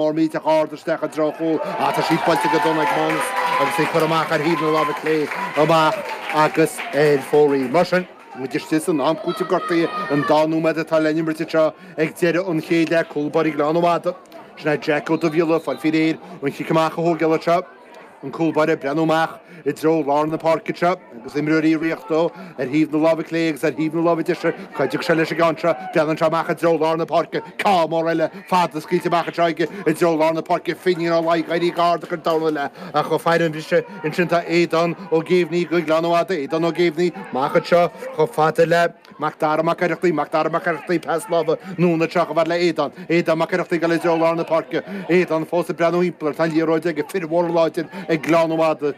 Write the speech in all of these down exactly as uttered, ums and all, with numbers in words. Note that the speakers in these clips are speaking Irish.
Mór millteach ard isteach i dtreo chúl ach tá sí buailte go dona ag Mánas agus é curtha amach ar thaobh na láimhe clé amach agus ar fóraoil. Mar sin, muid istigh san am cúitimh gortaithe, an dá nóiméad atá le n-imirt anseo ag deireadh an chéad leath, cúl báire Ghleann Fhada. Sin é Jack Ó Dubhghiolla, fáil faoi réir an chic amach a thógáil anseo. An cúl báire ag breathnú amach i dtreo lár na páirce anseo agus imreoirí ag ritheacht dó ar thaobh na láimhe clé agus ar thaobh na láimhe deise. Cá dtiocfaidh sé leis an gceann seo? Breathnaíonn sé amach i dtreo lár na páirce. Ceann mór eile fada scaoilte amach anseo aige i dtreo lár na páirce. Finín Ó Laoi ag éirí go hard ag an darna leath ach ag faire an bhriseadh ansin tá Aodán Ó Géibhní do Ghleann Fhada. Aodán Ó Géibhní amach anseo chomh fada le Mac Dara Mac Oireachtaigh, Mac Dara Mac Oireachtaigh, pas láimhe anonn anseo chomh fada le Aodán, Aodán Mac Oireachtaigh ag dul i dtreo lár na páirce, Aodán fós ag breathnú thimpeall air, tá an liathróid aige, fir mhóra láidir ag Gleann Fhada,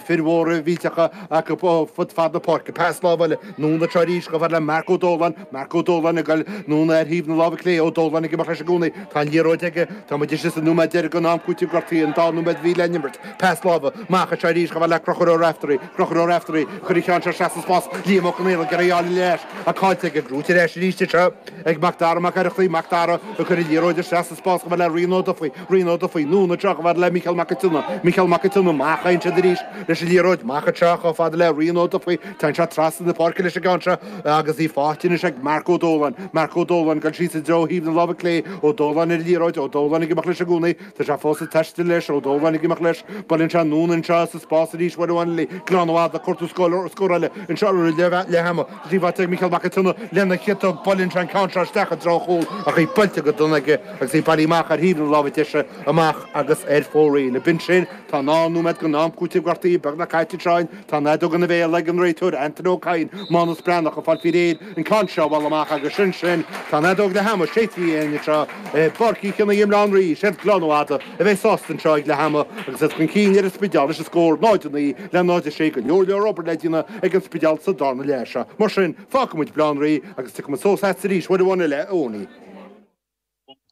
fir mhóra mhillteacha acu fud fad na páirce, pas láimhe eile anonn anseo arís chomh fada le Marc Ó Dóláin, Marc Ó Dóláin ag dul anonn ar thaobh na láimhe clé, Ó Dóláin ag imeacht leis i gcónaí, tá an liathróid aige, tá muid istigh sa nóiméad deiridh den am cúitimh gortaithe, an dá nóiméad a bhí le n-imirt, pas láimhe amach anseo arís chomh fada le Conchúr Ó Raftery, Conchúr Ó Raftery, Chuir an ceann seo isteach sa spás, Liam Ó Conaola ag iarraidh a fháil ar ais ach caillte aige, gnóthaithe ar ais arís anseo ag Mac Dara Mac Oireachtaigh, Mac Dara ag cur an liathróid isteach sa spás chomh fada le Rian Ó Dufaigh, Rian Ó Dufaigh, anonn anseo chomh fada le Mícheál Mac an tSionna, Mícheál Mac an tSionna, amach a théann siad arís leis an liathróid, amach anseo chomh fada le Rian Ó Dufaigh, téann sé trasna na páirce leis an gceann seo agus í faighte anois ag Marc Ó Dóláin, Marc Ó Dóláin ag dul síos i dtreo thaobh na láimhe clé, Ó Dóláin ar an liathróid, Ó Dóláin ag imeacht leis i gcónaí, tá sé fós ag taisteal leis, Ó Dóláin ag imeacht leis, buaileann sé anonn anseo sa spás arís uair amháin eile, Gleann Fhada ag cuartú scór eile anseo roimh leath ama. Tá sí faighte ag Mícheál Mac an tSionna lena chiotóg, buaileann sé an ceann seo isteach i dtreo an chúil ach í buailte go dona aige agus í bailithe amach ar thaobh na láimhe deise amach agus ar fóraoil. B'in sin, tá an dhá nóiméad den am cúitimh gortaithe beagnach caite anseo. Tá an fheadóg ina bhéal ag an réiteoir Anthony Ó Cadhain, Mánas Breathnach ag fáil faoi réir an ceann seo a bhualadh amach agus sin sin. Tá an fheadóg leath ama séidte againn anseo i bPáirc Uí Chionnaith i mBaile Átha an Rí. Is iad Gleann Fhada a bheidh sásta anseo ag leath ama agus iad chun cinn ar an Spidéal leis an scór náid a naoi le náid a sé. Go leor leor obair le déanamh ag an Spidéal sa darna leath seo. Mar sin, fágfaidh muid Baile Átha an Rí agus tiocfaidh muid suas agat arís uair amháin eile, a Eoiní.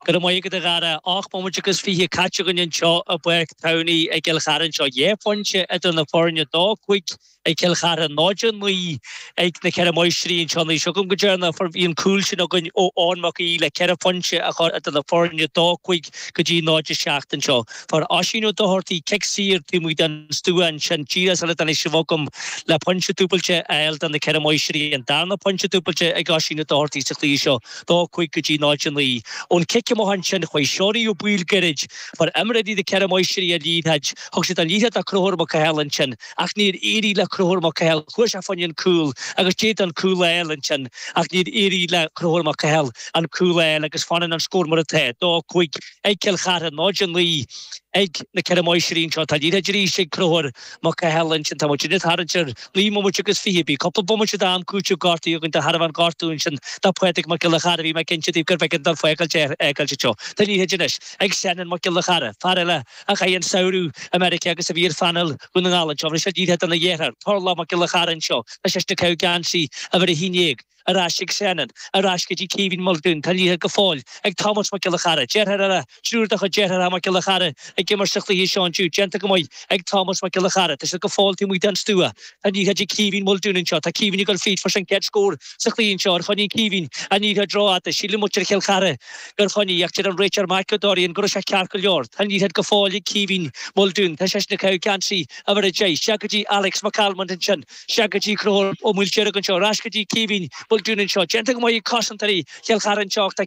Go raibh maith agat a Dhara. Ocht mbomaite agus fiche caite againn anseo i bPáirc Towney i gCill Chartha anseo. Dhá phointe idir na foirne, dó cúig ag Cill Chartha, náid a naoi ag na Ceithre Máistrí anseo. Anois agam go deireanach fuair bhí an cúl sin againn ó Eoin Mac Aoidh le ceithre phointe a chur idir na foirne, dó cúig go dtí náid a seacht anseo. Fuair Oisín Ó Dochartaigh cic saor taobh amuigh den stua ansin díreach sula dtáinig sibh chugam le pointe dúbailte a fháil do na Ceithre Máistrí, an darna pointe dúbailte ag Oisín Ó Dochartaigh sa chluiche seo, dó cúig go dtí náid a naoi. Ón cic amach ansin chuaigh Seonaí Ó Baoill gairid. Fuair imreoirí na Ceithre Máistrí an liathróid. Thug siad an liathróid do Chonchúr Mac Cathail ansin ach níor éirigh le Conchúr Mac Cathail. Chuaigh sé fá choinne an cúl agus d'fhéadfadh an cúl a fháil ansin ach níor éirigh le Conchúr Mac Cathail an cúl a fháil agus fanann an scór mar atá, dó cúig ag Cill Chartha, náid a naoi ag na Ceithre Máistrí anseo. Tá liathróid arís ag Conchúr Mac Cathail ansin. Tá muid ag tarraingt ar naoi mbomaite agus fiche. Bhí cúpla bomaite d'am cúitimh gortaithe againn de thairbhe an ghortú ansin do Phádraig Mac Giolla Chara. Bhí mé cinnte daoibh gurbh éigean dul fágáilt é fhágáilt anseo. Tá liathróid anois ag Senan Mac Giolla Chara, fear eile a chaith an samhradh i Meiriceá agus a bhí ar phainéal Dhún na nGall anseo. Bhí sé liathróid dona dheartháir, Turlough Mac Giolla Chara anseo. Tá seisean ag caitheamh geansaí uimhir a haon déag. Ar ais ag Senan, ar ais go dtí Caoimhín Muldoon, tá liathróid go fóill ag Tomás Mac Giolla Chara, deartháir eile, triúr de chuid deartháireacha Mac Giolla Chara ag imirt sa chluiche seo inniu, déanta go maith ag Tomás Mac Giolla Chara, tá siad go fóill taobh amuigh den stua, tá an liathróid ag Caoimhín Muldoon anseo, tá Caoimhín ag dul fríd, fuair sé an chéad scór sa chluiche anseo, ar choinnigh Caoimhín an liathróid rófhada, síleann muintir Chill Chartha gur choinnigh ach deir an réiteoir Mike O'Dorian go raibh sé ceart go leor, tá an liathróid go fóill ag Caoimhín Muldoon, tá seisean ag caitheamh geansaí uimhir a deich, isteach go dtí Alex McCalmont ansin. Isteach go dtí Conchúr Ó Maoildeirg anseo, ar ais go dtí Caoimhín Muldoon anseo. Déanta go maith ag cosantóirí Chill Chartha anseo ach tá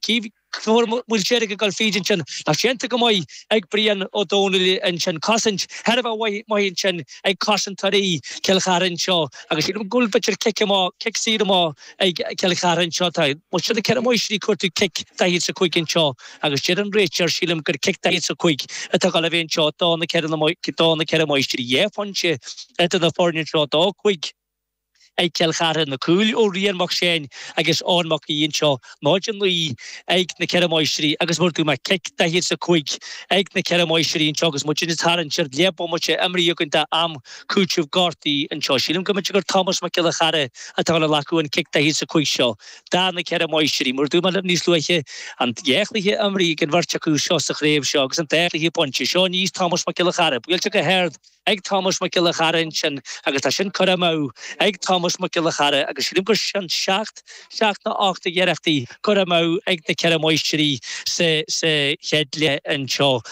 Conchúr Ó Maoildeirg ag dul fríd ansin. Ach déanta go maith ag Brian Ó Domhnaill ansin. Cosaint thar a bheith maith ansin ag cosantóirí Chill Chartha anseo agus sílim go bhfuil b'fhéidir cic amach, cic saor amach ag Cill Chartha anseo. Tá muintir na Ceithre Máistrí ag cuartú cic daichead is a cúig anseo agus deir an réiteoir, sílim gur cic daichead is a cúig atá ag dul a bheith anseo do na do na Ceithre Máistrí. Dhá phointe idir na foirne anseo, dó cúig ag Cill Chartha, na cúil ó Rian Mac Seáin agus Eoin Mac Aoidh anseo, náid a naoi ag na Ceithre Máistrí agus mar a dúirt mé, cic daichead is a cúig ag na Ceithre Máistrí anseo agus muid ag tarraingt ar leath bomaite imeartha againn d'am cúitimh gortaithe anseo. Sílim go mb'fhéidir gur Tomás Mac Giolla Chara atá ag glacadh an cic daichead is a cúig seo do na Ceithre Máistrí. Mar a dúirt mé libh níos luaithe, an dhá chluiche imeartha ag an bheirt acu seo sa chraobh seo agus an dá chluiche bainte. Seo aníos Tomás Mac Giolla Chara, buailte go hard. ag Tomás Mac Giolla Chara ansin agus tá sin curtha amú ag Tomás Mac Giolla Chara agus sílim gur sin seacht, seacht nó ocht d'iarrachtaí curtha amú ag na Ceithre Máistrí sa, sa chéad leath anseo.